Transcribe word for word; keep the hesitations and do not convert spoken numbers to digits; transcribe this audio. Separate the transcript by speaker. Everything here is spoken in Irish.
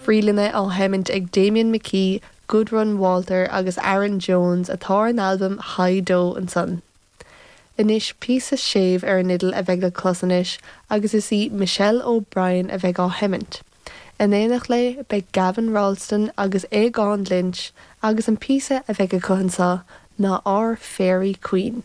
Speaker 1: Freelanna á sheimint ag Damien McKee, Gudrun Walter agus Aaron Jones atá ar an albam High Do ansan. Anois píosa séimh ar an fhidil a bheidh le clos anois agus is í Michelle O'Brien a bheidh á sheimint. In éineacht léi beidh Gavin Ralston agus Aogán Lynch agus an píosa a bheidh acu anseo ná Our Fairy Queen.